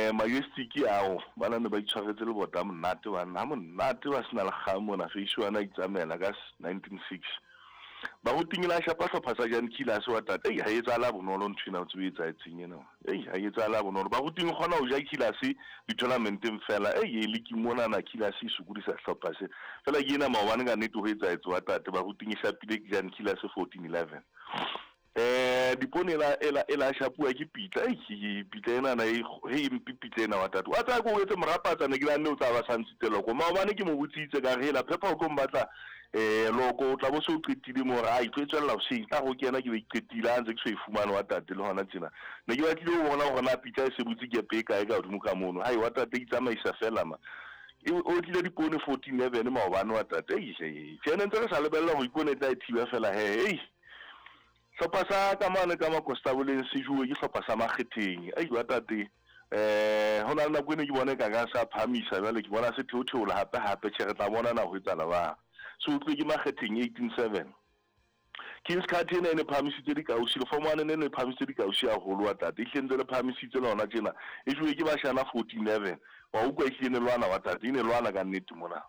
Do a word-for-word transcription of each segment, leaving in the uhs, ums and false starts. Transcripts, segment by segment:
Eh Majestic ao bana ne ba itshwaretse le bota monate bana ha monate ba sena le kgang mona face one a itsamela ka nineteen six. Baruting la shapa hlopha sa Jan Killers wa tata ei ha etsahala bonolo ntho ena o tsebe etsaetseng ena ei ha etsahala bonolo Baruting kgona ho ja Killers di-tournamenteng fela ei e le ke mona na Killers e sokodisa hlopha se fela ke ena maobane ka nnete ho etsaetse wa tate Baruting e shapile Jan Killers fourteen eleven. Eh dipone ela ela ela shapuwa ke pitla ei pitla ena na e he mpi pitla ena wa tate wa tsaya ko etse morapatsa ne ke la nne o tla ba santshitse loko maobane ke mo botsitse ka re hela phepha o tlo mbatla eh loko o tla bo se o qetile mo re ai tlo tswella ho seng tla go kena ke be qetile a ntse ke so e fumane wa tate le hona tjena ne ke batlile ho bona hore na pitla e se butse ke pe kae ka hodimo ka mono hai wa tate itsamaisa fela ma e o tlile dipone fourteen eleven maobane wa tate ei tjena ntse re sa lebella ho ipone tla e thiba fela he ei hlopha sa ka mane ka Makostaboleng se juwe ke hlopha sa Makgetheng ai wa tate eh hona le nako ene ke bone ka ka sa phamisa jwale ke bona se theotheola hape hape tjhe re tla bona na ho etsala ba se utlwe ke Makgetheng eighteen seven. Kings Card ena e ne phahamisitse dikausi le form one ne ne phahamisitse dikausi haholo wa tate e hlentse le phahamisitse lona tjena e juwe ke bashana fourteen eleven wa utlwa e hlile ne lwana wa tate e ne lwana ka nnete mona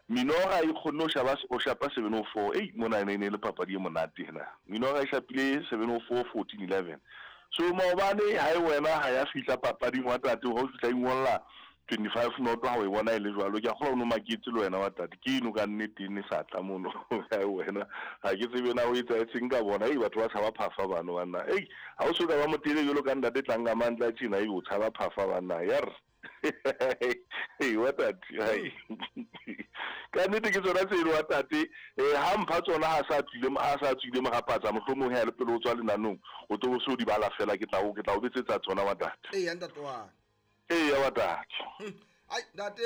Minora e kgonne ho shaba o shapa seven oh four ei mona ene ne le papadi e monate ena Minora e shapile seven oh four fourteen eleven so maobane ha e wena ha ya fihla papading wa tate ho fihla ingolla twenty-five noto ha o e bona e le jwalo ke a kgolwa o no maketse le wena wa tate ke eno ka nnete ne sa tla mono ha e wena ha ke tsebe na o etsaetseng ka bona ei batho ba tshaba phafa bano banna ei ha o so ka ba motele jwalo ka ntate tlang ka mantla tjena ei o tshaba phafa banna yar ei wa tate hai ka nnete ke tsona tseno wa tate eh ha mpha tsona ha sa tswile ha sa tswile morapatsa mohlomong ha le pele o tswa lenanong o tlo so di bala fela ke tla o ke tla o betsetsa tsona wa tate ee ntate wa ee ya wa tate ai ntate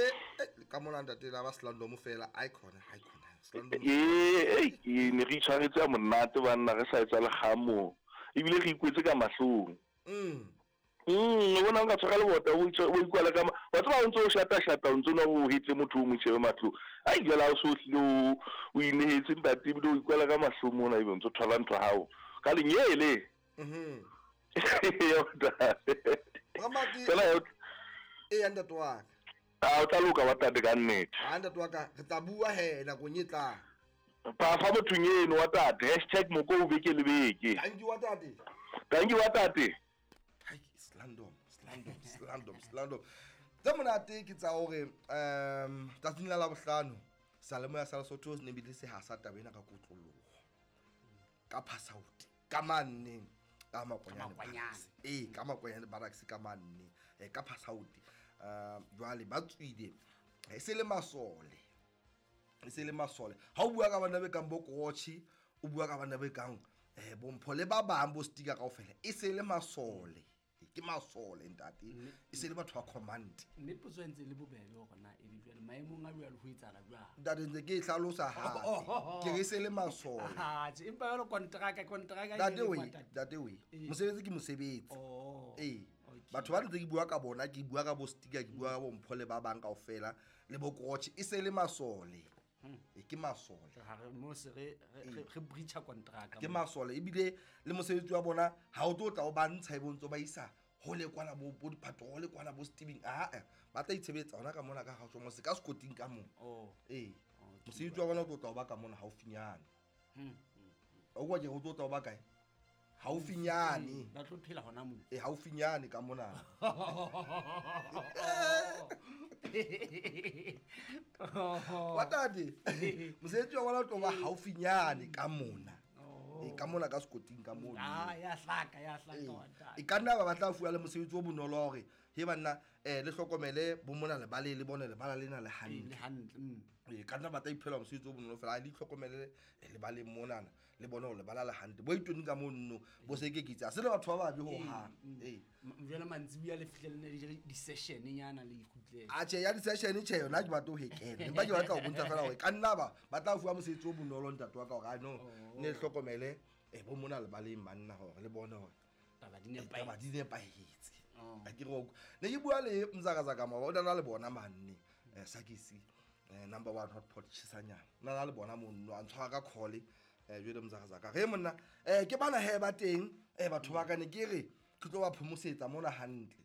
ka mona ntate la ba Slandomo fela ai khona ai khona Slandomo ee ee ne re itshwaretse monate banna re sa etsa le kgamo ebile re ikwetse ka mahlong mm mm o bona nka tshwara le bota o itse o ikwala ka wa tseba o ntse o shata shata o ntse o hetse motho o mo shebe mahlong ai jwale ha o so hlile o o inehetse ntate ebile o ikwala ka mahlong mona ebe o ntse o thola ntho hao ka lenyele mhm ya fela e ntate wa ka a o tla loka wa tate ka nnete a ntate wa ka re tla bua he nakong e tlang phafa mothong eno wa tate hashtag moko o beke le beke thank you wa tate thank you wa tate hai Slandom Slandom Slandom Slandom tse monate ke tsa hore um tsatsing la Labohlano Salemoya sa Lesotho ne bile se hasa taba ena ka kotloloho ka Phasauti ka manne ka Makwanyane ee ka Makwanyane barracks ka manne ka Phasauti um jwale ba tswile e se le masole e se le masole ha o bua ka bana be kang bo Kochi o bua ka bana be kang eh bompho le ba bang bo stika kaofela e se le masole ke masole ntate e se le batho ba command mme potso ntse le bobebe hore na e jwale maemong a jwale ho etsala jwang ntate ntse ke e hlalosa ha ke re se le masole ha tje empa jwale kontraka kontraka ntate we ntate we mosebetsi ke mosebetsi ee batho ba ntse ke bua ka bona ke bua ka bo stika ke bua ka bompho le ba bang kaofela le bo Kochi e se le masole e ke masole ha re mo se re re breacha contract ke masole ebile le mosebetsi wa bona ha o tlo tla o ba ntsha e bontso ba isa ho le kwana bo bo dipatrol kwana bo Steven a a ba tla itshebetsa hona ka mona ka ga tswa se ka sekoting ka mo oh ee mosebetsi wa bona o tlo tla o ba ka mona haufinyane hm o kwa ke o tlo tla o ba kae haufinyane ba tlo phela hona mo e haufinyane ka mona wa tate mosebetsi wa bona o tlo ba haufinyane ka mona e ka mona ka sekoting ka mona ah ya hlaka ya hlaka wa tate e ka nna ba batla fuwa le mosebetsi o bonolo hore he banna eh le hlokomele bo mona le bale le bone le bala lena le hantle le hantle e ka nna ba tla iphela mosebetsi o bonolo fela le hlokomele le bale monana le bone hore le bala le hantle bo itoni ka monno bo se ke kitsa se le batho ba babe ho hang ee jwale mantsibuya le fihlelle le di session nyana le ikgutlele a tjhe ya di session tjhe yona ke batla ho hekena empa ke batla ho bontsha fela hore ka nna ba ba tla fuwa mosebetsi o bonolo ntate wa ka hore a no ne hlokomele e bo mona le baleng banna hore le bone hore taba di nepahetse taba di nepahetse a ke re ne ke bua le Mzakazaka ma o na le bona manne eh Sakisi number one hot pot chisanyana na na le bona monno a ntshwara ka call eh jwale Mzakazaka re monna eh ke bana he ba teng eh batho ba ka ne ke re ke tlo ba phomosetsa mona hantle